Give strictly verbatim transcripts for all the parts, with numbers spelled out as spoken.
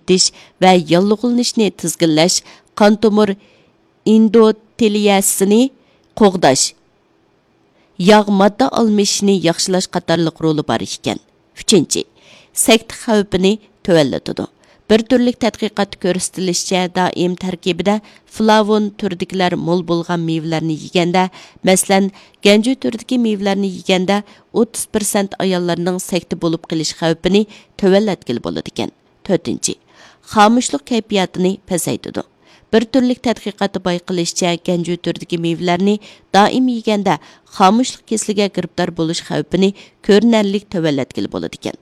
ئېتىش ۋە ياللۇغلىنىشنى تىزگىنلەش، قان تومۇر ئېندوتېلىيەسىنى قوغداش، ياغ ماددا ئالمىشىشنى ياخشىلاش قاتارلىق رولى بار ئىكەن. ئۈچىنچى، سەكتە خەۋپىنى تۆۋەنلىتىدۇ. بىر تۈرلۈك تەتقىقاتتا كۆرسىتىلىشىچە، دائىم تەركىبىدە فلاۋون تۈرىدىكىلەر مول بولغان مېۋىلەرنى يېگەندە، مەسىلەن، گەنجۈ تۈرىدىكى مېۋىلەرنى يېگەندە، ئوتتۇز پىرسەنت ئاياللارنىڭ سەكتە بولۇپ قېلىش خەۋپىنى تۆۋەنلەتكىلى بولىدىكەن. تۆتىنچى، خامۇشلۇق كەيپىياتىنى پەسەيتىدۇ. بىر تۈرلۈك تەتقىقاتتا بايقىلىشىچە، گەنجۈ تۈرىدىكى مېۋىلەرنى دائىم يېگەندە، خامۇشلۇق كېسىلىگە گىرىپتار بولۇش خەۋپىنى كۆرۈنەرلىك تۆۋەنلەتكىلى بولىدىكەن.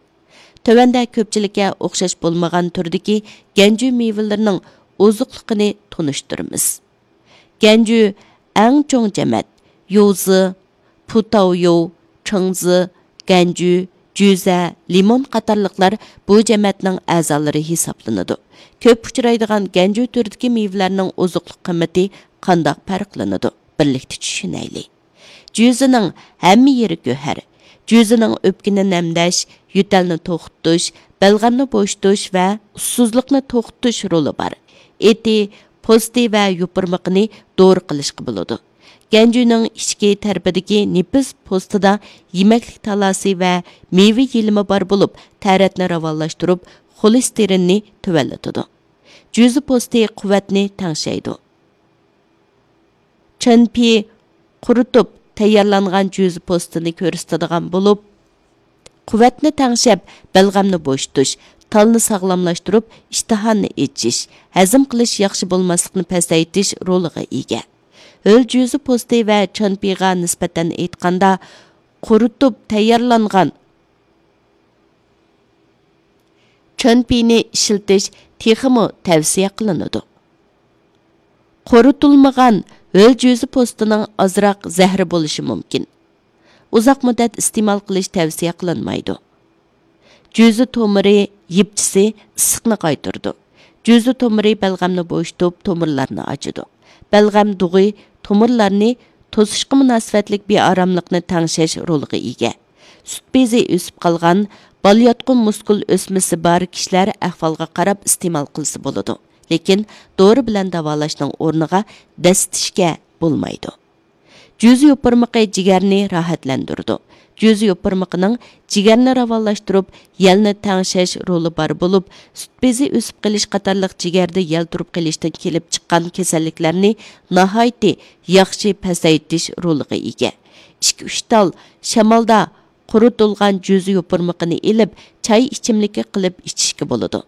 تۆۋەندە كۆپچىلىككە ئوخشاش بولمىغان تۈردىكى گەنجۈ مېۋىلىرىنىڭ ئوزۇقلۇقىنى تونۇشتۇرىمىز. گەنجۈ ئەڭ چوڭ جەمەت. يوزى، پۇتاۋيو، چىڭزى، گەنجۈ، جۈزە، لىمون قاتارلىقلار بۇ جەمەتنىڭ ئەزالىرى ھېسابلىنىدۇ. كۆپ ئۇچرايدىغان گەنجۈ تۈرىدىكى مېۋىلەرنىڭ ئوزۇقلۇق قىممىتى قانداق پەرقلىنىدۇ؟ بىرلىكتە چۈشىنەيلى. جۈزىنىڭ ھەممە يېرى گۆھەر. جۈزىنىڭ ئۆپكىنى نەمدەش، يۆتەلنى توختىتىش، بەلغەمنى بوشىتىش ۋە ئۇسسۇزلۇقنى توختىتىش رولى بار. ئېتى، پوستى ۋە يوپۇرمىقىنى دورا قىلىشقا بولىدۇ. گەنجۈنىڭ ئىچكى تەرىپىدىكى نېپىز پوستىدا يېمەكلىك تالاسى ۋە مېۋە يېلىمى بار بولۇپ، تەرەتنى راۋانلاشتۇرۇپ، خولېستېرىننى تۆۋەنلىتىدۇ. جۈزە پوستى قۇۋۋەتنى تەڭشەيدۇ. چېنپى قۇرۇتۇپ تەييارلانغان جۈزە پوستىنى كۆرسىتىدىغان بولۇپ، قۇۋۋەتنى تەڭشەپ، بەلغەمنى بوشىتىش، تالنى ساغلاملاشتۇرۇپ، ئىشتىھانى ئېچىش، ھەزىم قىلىش ياخشى بولماسلىقنى پەسەيتىش رولىغا ئىگە. ھۆل جۈزە پوستى ۋە چېنپىغا نىسبەتەن ئېيتقاندا، قۇرۇتۇپ تەييارلانغان چېنپىنى ئىشلىتىش تېخىمۇ تەۋسىيە قىلىنىدۇ. قۇرۇتۇلمىغان ھۆل جۈزە پوستىنىڭ ئازراق زەھىرى بولۇشى مۇمكىن. ئۇزاق مۇددەت ئىستېمال قىلىش تەۋسىيە قىلىنمايدۇ. جۈزە تومۇرى يىپچىسى ئىسسىقنى قايتۇرىدۇ. جۈزە تومۇرى بەلغەمنى بوشىتىپ، تومۇرلارنى ئاچىدۇ. بەلغەم دۇغى تومۇرلارنى توسۇشقا مۇناسىۋەتلىك بىئاراملىقنى تەڭشەش رولىغا ئىگە. سۈت بېزى ئۆسۈپ قالغان، بالىياتقۇ مۇسكۇل ئۆسمىسى بار كىشىلەر ئەھۋالغا قاراپ ئىستېمال قىلسا بولىدۇ، لېكىن دورا بىلەن داۋالاشنىڭ ئورنىغا دەسسىتىشكە بولمايدۇ. جۈزە يوپۇرمىقى جىگەرنى راھەتلەندۈرىدۇ. جۈزە يوپۇرمىقىنىڭ جىگەرنى راۋانلاشتۇرۇپ، يەلنى تەڭشەش رولى بار بولۇپ، سۈت بېزى ئۆسۈپ قېلىش قاتارلىق جىگەردە يەل تۇرۇپ قېلىشتىن كېلىپ چىققان كېسەللىكلەرنى ناھايىتى ياخشى پەسەيتىش رولىغا ئىگە. ئىككى-ئۈچ تال شامالدا قۇرۇتۇلغان جۈزە يوپۇرمىقىنى ئېلىپ، چاي ئىچىملىكى قىلىپ ئىچىشكە بولىدۇ.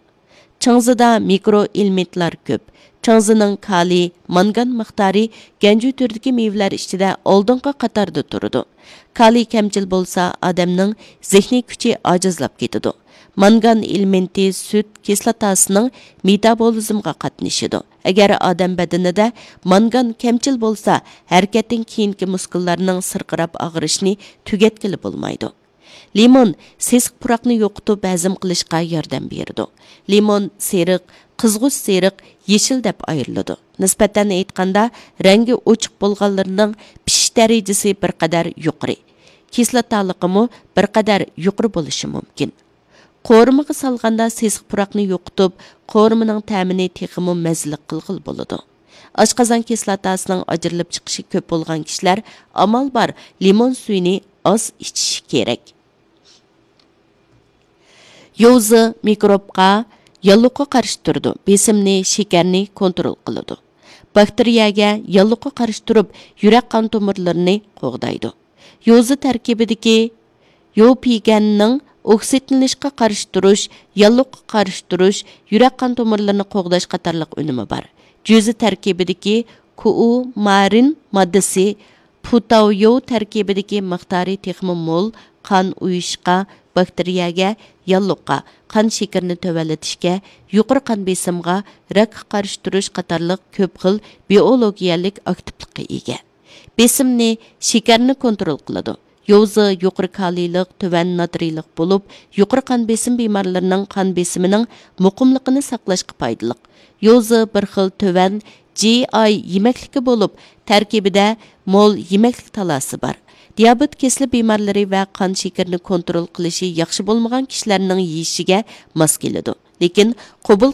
چىڭزىدا مىكرو ئېلېمېنتلار كۆپ. چىڭزىنىڭ كالىي، مانگان مىقدارى گەنجۈ تۈرىدىكى مېۋىلەر ئىچىدە ئالدىنقى قاتاردا تۇرىدۇ. كالىي كەمچىل بولسا، ئادەمنىڭ زېھنىي كۈچى ئاجىزلاپ كېتىدۇ. مانگان ئېلېمېنتى سۈت كىسلاتاسىنىڭ مېتابولىزمغا قاتنىشىدۇ. ئەگەر ئادەم بەدىنىدە مانگان كەمچىل بولسا، ھەرىكەتتىن كېيىنكى مۇسكۇللارنىڭ سىرقىراپ ئاغرىشىنى تۈگەتكىلى بولمايدۇ. لىمون سېسىق پۇراقنى يوقىتىپ، ھەزىم قىلىشقا ياردەم بېرىدۇ. لىمون سېرىق، قىزغۇچ سېرىق، يېشىل دەپ ئايرىلىدۇ. نىسبەتەن ئېيتقاندا، رەڭگى ئوچۇق بولغانلىرىنىڭ پىشىش دەرىجىسى بىر قەدەر يۇقىرى، كىسلاتالىقىمۇ بىر قەدەر يۇقىرى بولۇشى مۇمكىن. قورۇمىغا سالغاندا سېسىق پۇراقنى يوقىتىپ، قورۇمىنىڭ تەمىنى تېخىمۇ مەززىلىك قىلغىلى بولىدۇ. ئاشقازان كىسلاتاسىنىڭ ئاجرىلىپ چىقىشى كۆپ بولغان كىشىلەر ئامال بار لىمون سۈيىنى ئاز ئىچىشى كېرەك. يوزى مىكروبقا، ياللۇغقا قارشى تۇرىدۇ، بېسىمنى، شېكەرنى كونترول قىلىدۇ. باكتېرىيەگە، ياللۇغقا قارشى تۇرۇپ، يۈرەك قان تومۇرلىرىنى قوغدايدۇ. يوزى تەركىبىدىكى يوپىگەننىڭ ئوكسىدلىنىشقا قارشى تۇرۇش، ياللۇغقا قارشى تۇرۇش، يۈرەك قان تومۇرلىرىنى قوغداش قاتارلىق ئۈنۈمى بار. جۈزە تەركىبىدىكى كۇئۇمارىن ماددىسى پۇتاۋيو تەركىبىدىكى مىقدارى تېخىمۇ مول، قان ئۇيۇشقا، باكتېرىيەگە، ياللۇغقا، قان شېكىرىنى تۆۋەنلىتىشكە، يۇقىرى قان بېسىمغا، راكقا قارشى تۇرۇش قاتارلىق كۆپ خىل بىئولوگىيەلىك ئاكتىپلىققا ئىگە. بېسىمنى، شېكەرنى كونترول قىلىدۇ. يوزى يۇقىرى كالىيلىق، تۆۋەن ناترىيلىق بولۇپ، يۇقىرى قان بېسىم بىمارلىرىنىڭ قان بېسىمىنىڭ مۇقىملىقىنى ساقلاشقا پايدىلىق. يوزى بىر خىل تۆۋەن جى ئاي يېمەكلىكى بولۇپ، تەركىبىدە مول يېمەكلىك تالاسى بار. دىيابېت كېسىلى بىمارلىرى ۋە قان شېكىرىنى كونترول قىلىشى ياخشى بولمىغان كىشىلەرنىڭ يېيىشىگە ماس كېلىدۇ. لېكىن قوبۇل